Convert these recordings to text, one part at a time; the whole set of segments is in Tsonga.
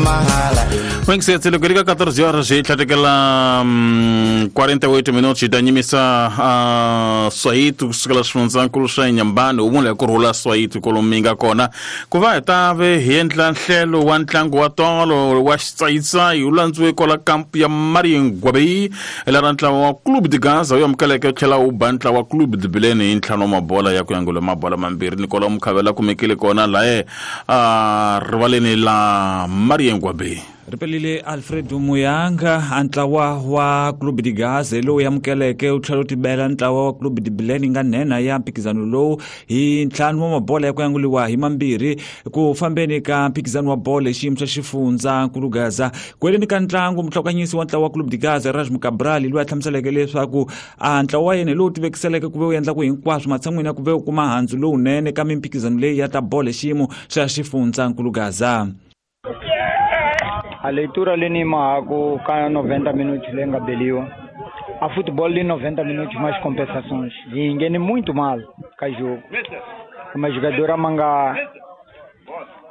N'wingisetse loko ri ka 14 horas hi tlhatekela 48 minutos hi ta nyimisa Swayiti kusukela swifundzankulu swa Inhambane wu vula hi ku rhula Swayiti kwalomu mi nga kona ku va hi ta ve hi endla nhlelo wa ntlangu wa tolo wa xitsayitsayi wu landziwe kwala kampu ya Mariengwabe la ntlawa wa Clube de Gaza wu amukeleke wu tlhela wu ba ntlawa wa Clube de Bilene hi ntlhanu wa mabola ya ku yangula mabola mambirhi Nicolau Mukhavela kumekile kona laye rivaleni la Mariengwabe. Ri pelile Alfredo Muyanga a ntlawa wa Clube de Gaza lowu amukeleke wu tlhela wu tibela ntlawa wa Clube de Bilene nga nhenha ya mphikizano lowu hi ntlhanu wa mabola ya ku yanguliwa hi mambirhi ku fambeni ka mphikizano wa bolo hi xiyimo xa xifundza nkulu Gaza. Ku heleni ka ntlangu muhlokanyisi wa ntlawa wa Clube de Gaza Erasmo Cabral loyi a hlamuseleke leswaku a ntlawa wa yena hi lowu tivekiseleke ku ve wu endla ku hinkwaswo matshan'wini ya ku ve wu kuma handzu lowunene ka mimphikizano leyi ya ta bolo hi xiyimo xa xifundza nkulu Gaza. A leitura leyi mahaku ka 90 minutos leyi nga beliwa a futebol de 90 minutos mais compensações e engene muito mal ka jogo mas jogador manga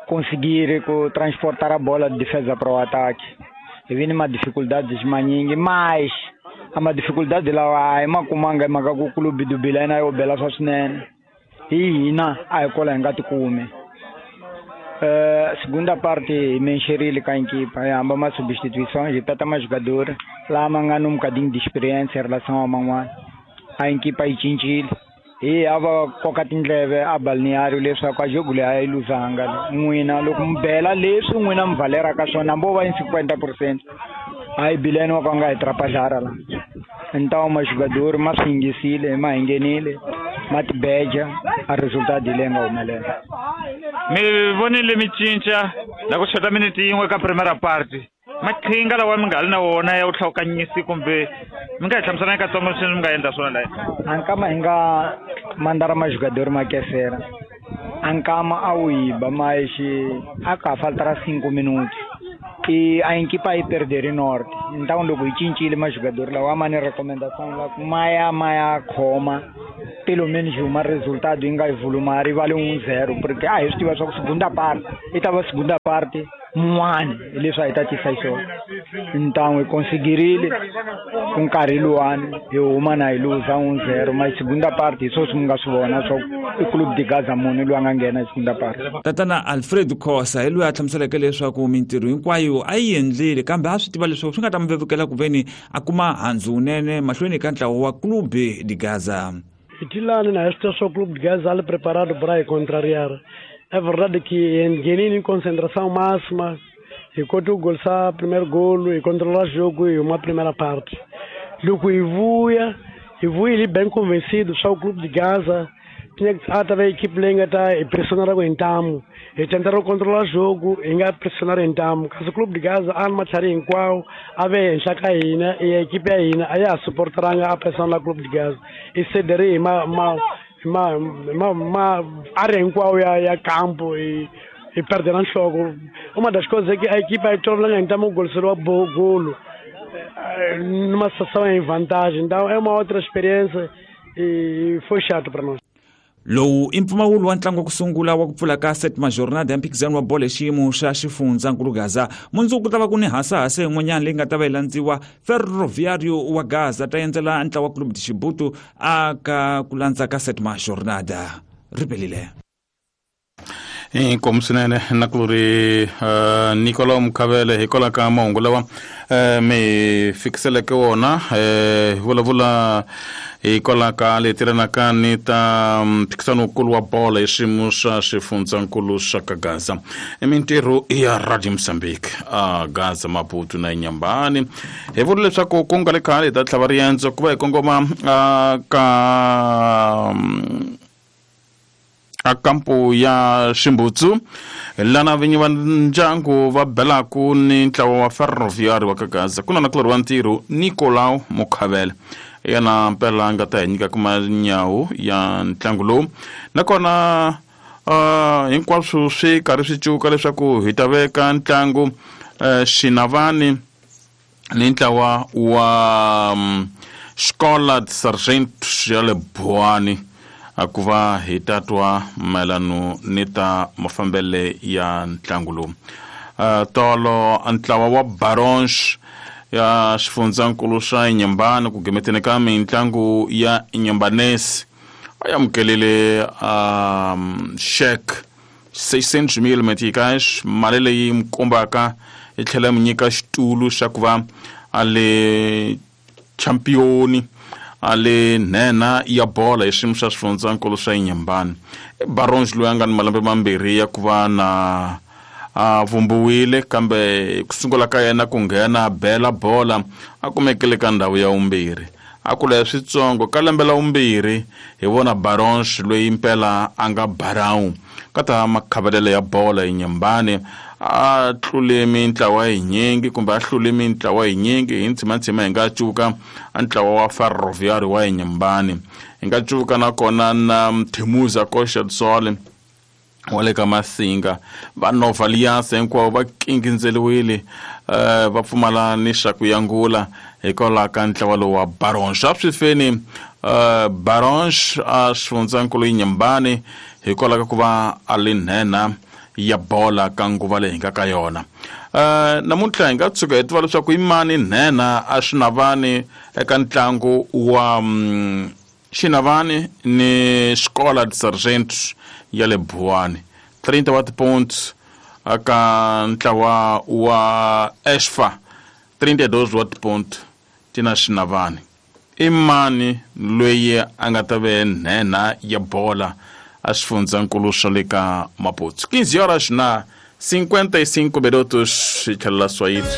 conseguir transportar a bola de defesa para o ataque e vem uma dificuldade maningi mas a dificuldade lá é uma kumanga manga ku clube do Bilena yo bela swa swinene hi hina a hi kola hi nga tikumi. Segunda parte mexerile com a equipa, hamba uma substituição, já tá mais jogador, lá mangando um bocadinho de experiência em relação ao manguan. A equipa aí cincile. E ava kokatinleve a balneário leswa kwa jogo le a iluzanga. N'wina loko mbela leswi n'wina mvalera ka swona mbo va 50%. Aí bileno wa nga atrapalhar lá. Então mas jogador mas fingisile, mas engenile, mas beja a resultado ile nga humelela. Mi vonile mi cinca la ku xota minute yin'we ka primera parte. Maqhinga lawa mi nga ri na wona ya vuhlawukanyisi kumbe mi nga hi hlamusela katsongo leswi mi nga endla swona laha? Ankama hi nga mandara majogador ma kesera. Ankama a wu yiba mas a ka faltara 5 minutos. E a equipa aí perder norte. Então loko hi cincile majogador lawa ma ni recomendação la ku maya maya khoma pelo menos uma resultado yi nga volumari vale 1-0 porque a hi swi tiva swa ku segunda parte i ta va segunda parte mun'wani hi leswi a hi ta tisa xiswona. Então hi conseguirile ku nkarhi luwani hi huma na hi luza 1-0 mas segunda parte hi swoswi mi nga swi vona swa i Clube de Gaza munhu loyi a nga nghena hi segunda parte. Tatana Alfred Khosa hi loyi a hlamuseleke leswaku mintirho hinkwayo a yi endlile kambe a swi tiva leswaku swi nga ta mi vevukela ku veni a kuma handzu wunene mahlweni ka ntlawa wa Clube de Gaza. Itilani na este só Clube de Gaza ali preparado para contrariar. É verdade que em concentração máxima, enquanto o gol sa primeiro golo e controlar o jogo e uma primeira parte. Logo e vuia ele bem convencido, só o Clube de Gaza tinha que a equipe lenga tá e pressionar o entamo, e tentaram controlar o jogo, e nga pressionar entamo. Caso o Clube de Gaza arma tari em qual ave em Chacaína e a equipe aí aí a suportará a pressão do Clube de Gaza e cederem ma área em qual é campo e perderão jogo. Uma das coisas é que a equipe aí toda então o gol será bom golo numa situação em vantagem. Então é uma outra experiência e foi chato para nós. Lowu i mpfumawulo wa ntlangu wa ku sungula wa ku pfula ka setima jornada ya mphikizano wa bolo hi xiyimo xa xifundzankulu Gaza. Mundzuku ku ta va ku ni hasahasa yin'wanyana leyi nga ta va yi landziwa Ferroviário wa Gaza ta endzela ntlawa wa Clube de Chibuto a ka ku landza ka setima jornada. Ri pelile. Inkomu swinene na ku ri Nicolau Mukhavele hikwalaho ka mahungu lawa mi fikiseleke wona hi vulavula hikwalaho ka leti tirhanaka ni ta mphikizano wukulu wa bolo hi xiyimo xa xifundzankulu xa ka Gaza. I mintirho ya Radio Mozambique a Gaza, Maputo na Inhambane. Hi vula leswaku ku nga le khale hi ta tlhava riendzo ku va hi kongoma ka a kampu ya Ximbutsu lana vinyi va ndyangu va belaku ni ntlawa wa Ferroviário wa ka Gaza. Ku na nakulorhi wa ntirho Nicolau Mukhavele yena mpela a nga ta hi nyika manyawu ya ntlangu lowu nakona hinkwaswo swi karhi swi cuka leswaku hi ta veka ntlangu Xinavani ni ntlawa wa Escola de Sargento ya le Buani ku va hi ta twa mayelano ni ta mafambele ya ntlangu lowu. Tolo ntlawa wa Barons ya xifundzankulu xa Inhambane ku gimeteni ka mitlangu ya Inhambanesi a amukelile cheque 600 mil meticais, mali leyi mi kombaka yi tlhela mi nyika xitulu xa ku va a le championi a le nhenha ya bola hi xiyimo xa xifundzankulu xa Inhambane. I Barons loyi a nga ni malembe mambirhi ya ku va na a vumbiwile, kambe ku sungula ka yena ku nghena bela bola a kumekile ka ndhawu ya vumbirhi, a kula ya switsongo ka lembe la vumbirhi. Hi vona Barons loyi mpela a nga barawu ka ta makhavelelo ya bola Inhambane, a tlule mintlawa yinyingi kumbe a hlule mintlawa yinyingi hi ntshimantsima. Hi nga cuka a ntlawa wa Ferroviário wa Inhambane, hi nga cuka nakona na Mthemuza Coxa Sol wa le ka Masinga, va Nova Aliança hinkwavo va kingindzeliwile, va pfumala ni xa ku yangula hikwalaho ka ntlawa lowu wa Barons. A swi feni Barons a xifundzankulu Inhambane hikwalaho ka ku va a li nhenha ya bola ka nguva leyi hi nga ka yona. Namuntlha hi nga tshuka hi tiva leswaku i mani nhenha a Xinavani eka ntlangu wa Xinavani ni Escola de Sargentos ya le Buwani, 30 wa tipoints aka ntlawa wa Esfa, 32 wa tipoint tina Xinavani. I mani loyi a nga ta ve nhenha ya bola a xifundzankulu xa le ka Maputo? 15 horas na 55 minutos, hi tlhelela Swahili.